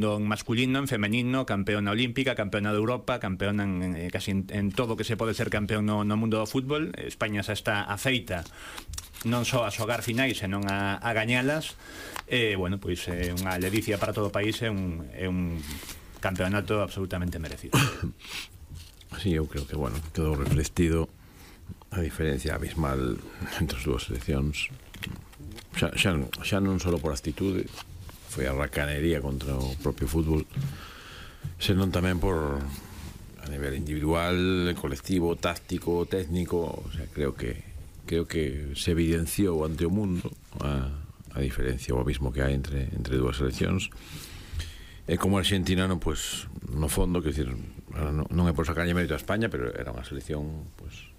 en masculino, en femenino, campeona olímpica, campeona de Europa, campeona casi en todo que se pode ser campeón no mundo do fútbol. España xa está afeita non só a xogar finais, senón a gañalas. Bueno, pois é unha ledicia para todo o país, é un campeonato absolutamente merecido. Sí, eu creo que, bueno, quedou reflectido a diferencia abismal entre as dúas seleccións. Xa non só por actitude, foi a racanería contra o propio fútbol, senón tamén por a nivel individual, colectivo, táctico, técnico. O sea, creo que se evidenciou ante o mundo a diferencia, o abismo que hai entre dúas seleccións. E como argentinano, pues, no fondo, que decir, non é por sacarlle mérito a España, pero era unha selección, pues,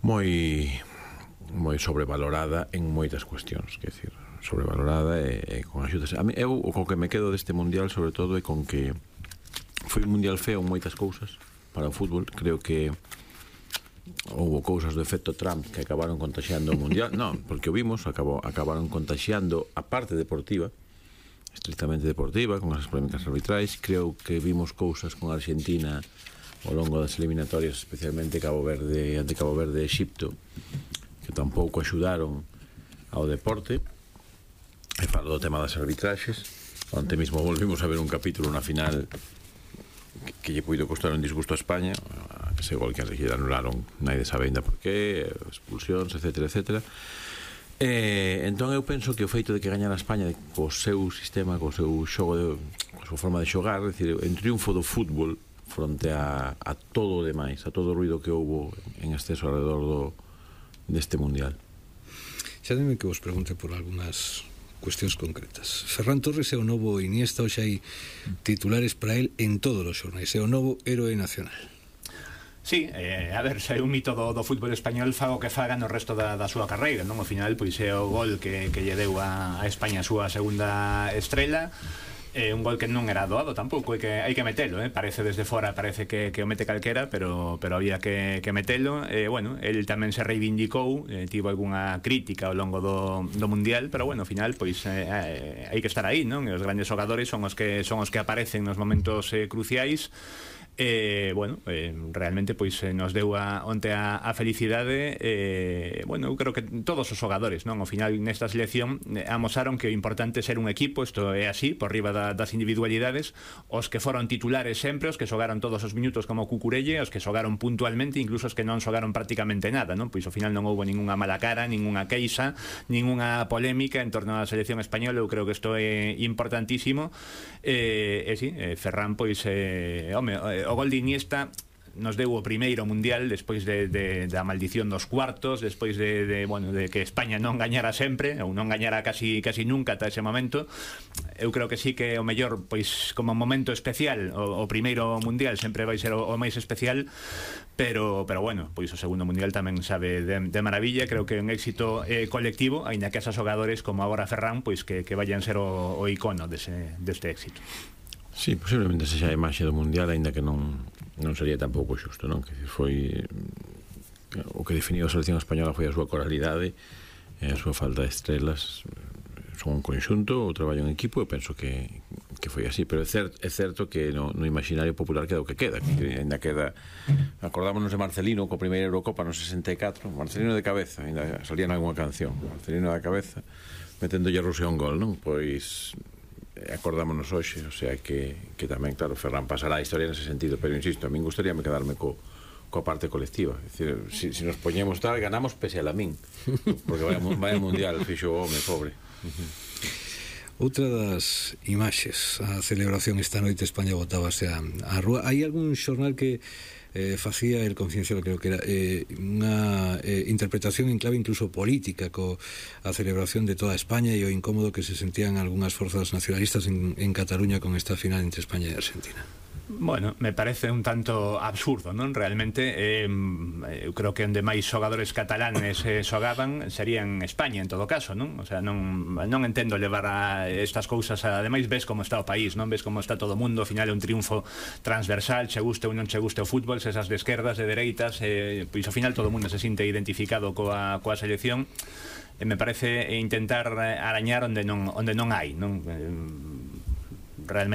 moi sobrevalorada en moitas cuestións, que decir, sobrevalorada e con axudas. A mí, eu o que me quedo deste mundial sobre todo é con que foi un mundial feo en moitas cousas para o fútbol. Creo que houve cousas do efecto Trump que acabaron contaxiando o mundial. Non, porque o vimos, acabaron contaxiando a parte deportiva, estrictamente deportiva, con as polémicas arbitrais. Creo que vimos cousas con Argentina ao longo das eliminatorias, especialmente ante Cabo Verde e Exipto, que tampouco axudaron ao deporte. E falo do tema das arbitraxes. Onte mesmo volvimos a ver un capítulo na final que lle puido costar un disgusto a España, ese gol que lle anularon, nadie sabe ainda por qué, expulsións, etcétera, etcétera. Entón eu penso que o feito de que gañara a España co seu sistema, co seu xogo, coa súa forma de xogar, é dicir, en triunfo do fútbol fronte a todo o demais, a todo o ruido que houbo en exceso alrededor deste mundial. Xa dime que vos pregunte por algunhas cuestións concretas. Ferran Torres é o novo Iniesta, hoxe hai titulares para el en todos os xornais, é o novo héroe nacional. Sí, a ver, se é un mito do fútbol español, faga o que faga no resto da súa carreira, non? Ao final, pois é o gol que lle deu a España a súa segunda estrela. Un gol que non era doado tampouco, hai que metelo, parece desde fora, parece que o mete calquera, pero había que metelo. Bueno, el tamén se reivindicou, tivo algunha crítica ao longo do mundial, pero bueno, ao final pois hai que estar aí, non? E os grandes xogadores son os que aparecen nos momentos cruciais. Bueno, realmente pois nos deu onte a felicidade. Bueno, eu creo que todos os xogadores, non? Ao final nesta selección amosaron que o importante é ser un equipo, isto é así, por riba das individualidades. Os que foron titulares sempre, os que xogaron todos os minutos como Cucurelle, os que xogaron puntualmente, incluso os que non xogaron prácticamente nada, non? Pois ao final non houbo ningunha mala cara, ningunha queixa, ningunha polémica en torno á selección española. Eu creo que isto é importantísimo. Sí, Ferran, pois, o gol de Iniesta nos deu o primeiro mundial despois da maldición dos cuartos, despois de que España non gañara sempre, ou non gañara casi nunca ata ese momento. Eu creo que sí que o mellor, pois como momento especial, o primeiro mundial sempre vai ser o máis especial, pero bueno, pois o segundo mundial tamén sabe de maravilla. Creo que é un éxito colectivo, aínda que esos xogadores como agora Ferran, pois que vayan ser o icono deste éxito. Sí, posiblemente sexa a imaxe do mundial, aínda que non sería tampouco xusto, non? Que foi o que definiu a selección española foi a súa coralidade e a súa falta de estrelas. Son un conxunto, o traballo en equipo, e penso que foi así, pero é certo que no imaginario popular queda o que queda, que ainda queda. Acordámonos de Marcelino co primeira Eurocopa no 64, Marcelino de cabeza, ainda salía nalgúna canción, Marcelino de cabeza meténdolle a Rusia un gol, non? Pois acordámonos hoxe, o sea que tamén, claro, Ferran pasará a historia nese sentido, pero insisto, a min gustaríame quedarme coa parte colectiva. É dicir, se nos poñemos tal, ganamos pese a Lamín, porque vai mundial, fixo o home, pobre. Outra das imaxes, a celebración esta noite, España botábase á rúa. Hai algún xornal que facía el Confidencial, creo que era unha interpretación en clave incluso política a celebración de toda España e o incómodo que se sentían algunhas forzas nacionalistas en Cataluña con esta final entre España e Argentina. Bueno, me parece un tanto absurdo, non? Realmente eu creo que onde máis xogadores catalanes xogaban sería en España, en todo caso, non? O sea, non entendo levar a estas cousas. Ademais, ves como está o país, non? Ves como está todo o mundo. Ao final é un triunfo transversal, che guste ou non che guste o fútbol, se esas de esquerdas, de dereitas, pois ao final todo o mundo se sinte identificado coa selección. Me parece intentar arañar onde non hai, non? realmente